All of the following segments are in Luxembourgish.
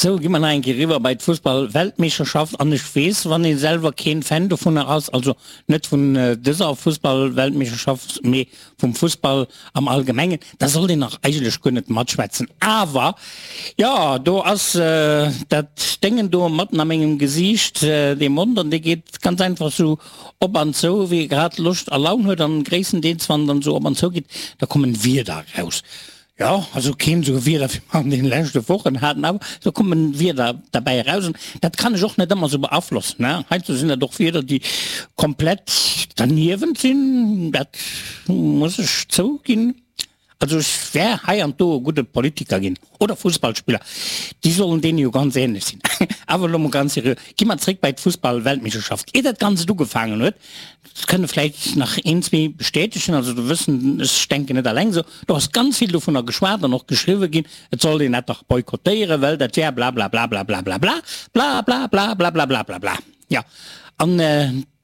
Sou, gi mer nach eng Kéier eriwwer bei d'Fussball-Weltmeeschterschaft. An ech weess, wann ee selwer keen Fan dovunner ass, also net vun dëser Fussball-Weltmeeschterschaft, mee vum Fussball am Allgemengen, da sollt een och eigentlech guer net matschwätzen. Awer, jo, do ass dat Déngen do matten a mengem Gesiicht, dee Mond, an dee geet ganz einfach sou op an zou, wéi e grad Loscht a Laun huet. An gréisstendeels, wann en dann sou op an zou geet, da kommen Wierder eraus. Jo, also keen esou Wieder wéi mer an deene leschte Wochen haten, awer do kommen Wieder derbäi eraus an dat kann ech och net ëmmer esou beaflossen, ne. Heiansdo sinn dat och Wieder, déi komplett derniewent sinn, dat muss ech zouginn. Also ech wär hei an do e gudde Politiker ginn oder Fussballspiller, déi sollen deene jo ganz ähnlech sinn. Awer elo mol ganz seriö, gi mer zréck bei d'Fussballweltmeeschterschaft. Ier dat Ganzt ugefaangen huet, Dat kënne vläicht nach een, zwee bestätegen, also do wëssen, ech denken net alleng esou, do ass ganz vill dovunner geschwat an och geschriwwe ginn, et sollt een dat dach boykottéieren, well dat wär blablablablablablablabla, blablablablablablablabla. Jo, an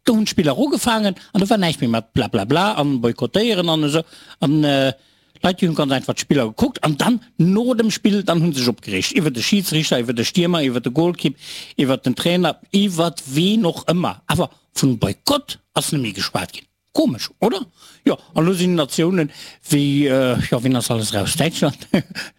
do hunn d'Spiller ugefaangen an do war näischt méi mat blablabla an boykottéieren an esou. An d'Leit, déi hunn ganz einfach d'Spiller gekuckt an dann no dem Spill, dann hu se sech opgereegt iwwer de Schidsrichter, iwwer de Stiermer, iwwer de Golkipp, iwwer den Trainer, iwwer ween och ëmmer. Awer Vun Boykott ass net méi geschwat ginn. Komesch, oder? Jo, an elo sinn Natiounen wéi, jo, wien ass alles eraus? Däitschland,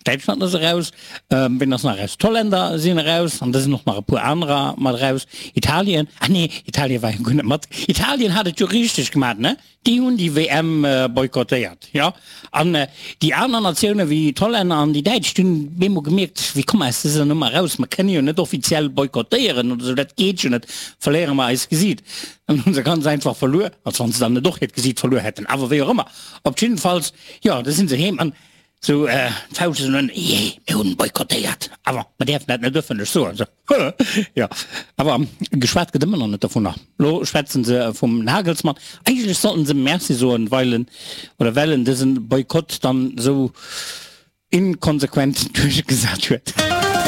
Däitschland ass eraus, wien ass nach eraus? D'Hollänner sinn eraus, an da sinn och nach e puer anerer mat eraus. Italien, ah nee, Italien war jo guer net mat. Italien hat et jo richteg gemaat, ne? Déi hunn déi WM boykottéiert, jo. An déi aner Natioune wéi d'Hollänner an déi Däitsch, déi hunn bemol gemierkt, wéi komme mer aus dëser Nummer eraus, mer kënne jo net offiziell boykottéieren oder esou, dat geet jo net, verléiere mer eist Gesiit. Dann hu se ganz einfach verluer, als wann se dann net och hiert Gesiit verluer hätten, awer wéi och ëmmer. Op jiddefalls, jo, da si se heem an esou d'Fauscht esou, jee, mir hunn boykottéiert, awer mer däerfen dat net ëffentlech soen. Esou. Jo, awer geschwat gëtt ëmmer nach net dovunner. Lo schwätzen se vum Nagelsmann. Eigentlech sollten se Merci soen, weil en, oder well en dësen Boykott dann esou inkonsequent duerchgesat huet.